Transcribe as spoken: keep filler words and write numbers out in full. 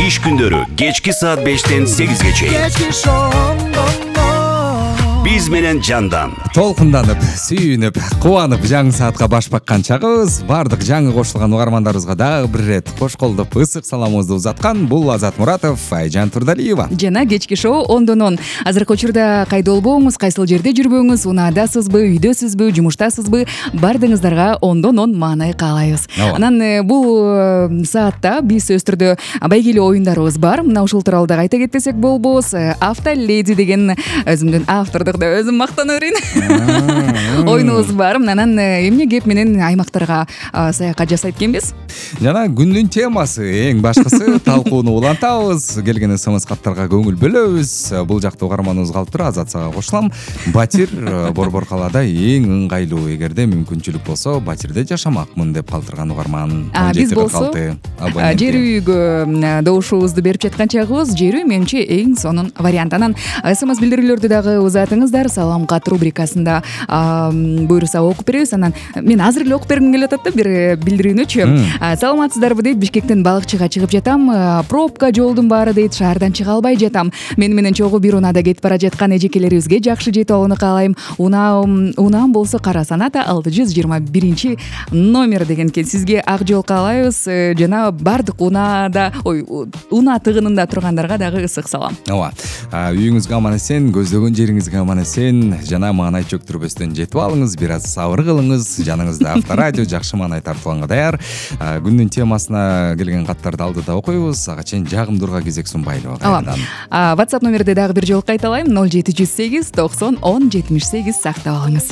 Иш күндөрү кечки саат бештен сегизге чейин. Биз менен жандан толкунданып, сүйүнүп, кубанып жаңы саатка баш баккан чагыбыз. Бардык жаңы кошулган угармандарыбызга дагы бир ирет кош колдоп ысык саламыбызды узаткан бул Азат Муратов, Айжан Турдалиева жана кечки шоу ондон он. Азыркы учурда кайда болбоңуз, кайсыл жерде жүрбөңүз, унаадасызбы, үйдөсүзбү, жумуштасызбы, бардыгыңыздарга ондон он маанай каалайбыз. Анан бул саатта биз сөзсүз түрдө байгелүү оюндарыбыз бар. Мына ушул тууралуу дагы айта кетпесек болбос. Автоледи деген өзүмдүн автордук өзүм мактана берейин. Оюнубуз бар. Анан эмне кеп менен аймактарга саякат жасайт экенбиз. Жана күндүн темасы эң башкысы талкууну улантабыз. Келген смс каттарга көңүл бөлөбүз. Бул жакта угарманыбыз калып тур, Азат сага кошулам. Батир Борбор калаада эң ыңгайлуу. Эгерде мүмкүнчүлүк болсо батирде жашамакмын деп калтырган угарман. Биз болсо жер үйгө добушубузду берип жаткан чагыбыз. Жер үй менимче эң сонун вариант. Анан смс билдирүүлөрдү дагы узатыңыздар. Салам кат рубрикасында буюрса окуп беребиз. Анан мен азыр эле окуп бергим келип атат да бир билдирүүнүчү. Саламатсыздарбы дейт. Бишкектен балыкчыга чыгып жатам. Пробка жолдун баары дейт. Шаардан чыга албай жатам. Мени менен чогуу бир унаада кетип бара жаткан эжекелерибизге жакшы жетип алууну каалайм. Унаам унаам болсо Кара Саната алты жүз жыйырма биринчи номер деген экен. Сизге ак жол каалайбыз. Жана бардык унаада, ой, унаа тыгынында тургандарга дагы ысык салам. Ооба. Үйүңүзгө аман эсен, көздөгөн жериңизге аман эсен, жана маанай чөктүрбөстөн жетип алыңыз, бир аз сабыр кылыңыз. Жаныңызда авторадио жакшы маанай тартылганга даяр. Күндүн темасына келген каттарды алдыда окуйбуз. Ага чейин жагымдууга кезек сунбайлыбы кайрадан. WhatsApp номерди дагы бир жолу кайталайм: ноль жети жүз сегиз токсон он жетимиш сегиз сактап алыңыз.